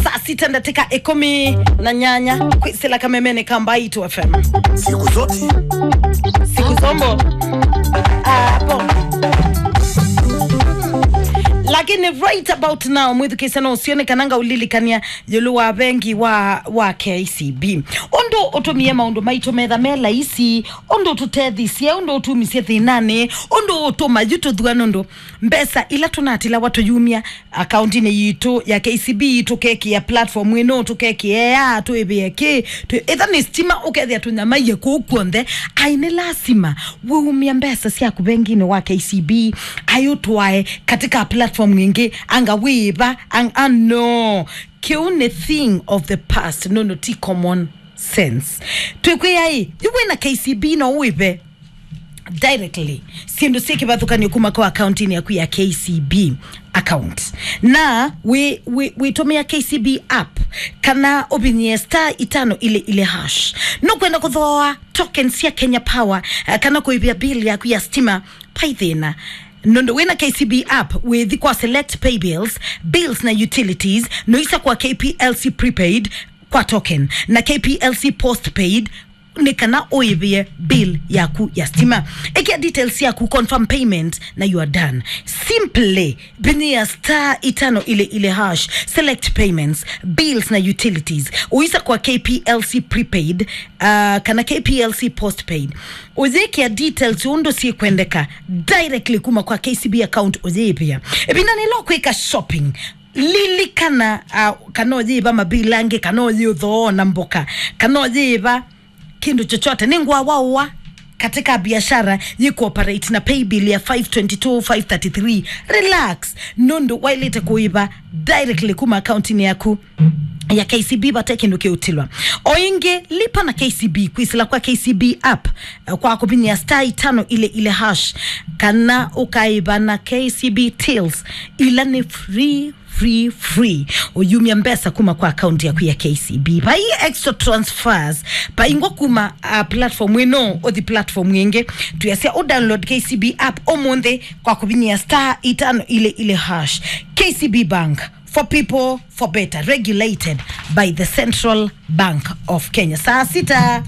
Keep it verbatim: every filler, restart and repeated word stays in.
Saa sita ndatĩka ĩkũmi na nyanya kwĩsĩla kamemene ka Mbaitu F M. Siku zote. Siku zombo. Apo. Lakini right about now, mwĩthukĩĩsya no ũsyone kana ngaũlilikany'a ĩũlũ wa vengi wa, wa K C B. Ũndũ ũtũmie maũndũ maitũ metha me laisi, ũndũ ũtũtethisye, ũndũ ũtumisye thĩnanĩ, ũndũ ũtũma yu tũthua nũndũ mbesa ila tũnatilawa tũyumya akauntinĩ yitũ ya K C B tũkekĩa platform ĩno, tũkekĩa ea, twĩvĩe kĩ, twĩ-, ĩtha nĩ stima ũkethĩa tũnyamaie kũu kw'onthe. Ai, nĩ lasima wĩumya mbesa syaku venginĩ wa K C B, ai ũtwae katika platform ĩngĩ, anga wĩva, ang-, ah, no. Kĩu nĩ thing of the past, no, no, ti common sense. Twĩkwĩa ĩ, yu wĩna K C B no wĩve directly syĩndũ syĩ kĩvathũkanyo kuma kwa akauntinĩ yaku ya K C B account. Na wĩ, wĩ, wĩtũmĩa K C B app kana ũvinyĩe star itano ile ile hash. Nũkwenda kũthooa token sya Kenya Power, eh, kana kũĩvĩa bill yaku ya stima, vai thĩna. Nũndũ wĩna K C B app, wĩthi kwa select pay bills, bills na utilities, noisa kwa K P L C prepaid kwa token, na K P L C postpaid, nĩ kana ũĩvĩe bill yaku ya stima. Ĩkĩa details yaku, confirm payment, na you are done. Simply vinyĩa star itano ile ile hash, select payments, bills na utilities. Ũisa kwa K P L C prepaid, uh, kana K P L C postpaid. Ũyĩkĩa details ũndũ syĩkwendeka directly kuma kwa K C B account ũyĩĩvĩa. Ĩvinda nĩla ũkwĩka shopping, lilikana, uh, kana ũyĩĩva mabill angĩ, kana ũyĩũthooa na mboka, kana ũyĩĩva kĩndũ chochote, nĩ ngwawa ũa katika biashara yĩ cooperate na paybill ya five twenty-two five thirty-three. Relax, nũndũ waĩlĩte kũĩva directly kuma akauntinĩ yaku ya K C B vate kĩndũ kĩũtilwa. O ĩngĩ, lipa na K C B kwĩsĩla kwa K C B app, eh, kwa kũvinyĩa star itano ile ile hash, kana ũkaĩva na K C B tills, ila nĩ free, free, free. Ũyumya mbesa kuma kwa account yaku ya K C B. Vai extra transfers, vai ngwa kuma, uh, platform ĩno ũthi platform ĩngĩ. Tuyasya ũ download K C B app ũmũnthĩ kwa kũvinyĩa star itano ile ile hash. K C B Bank, for people, for better, regulated by the Central Bank of Kenya. Saa sita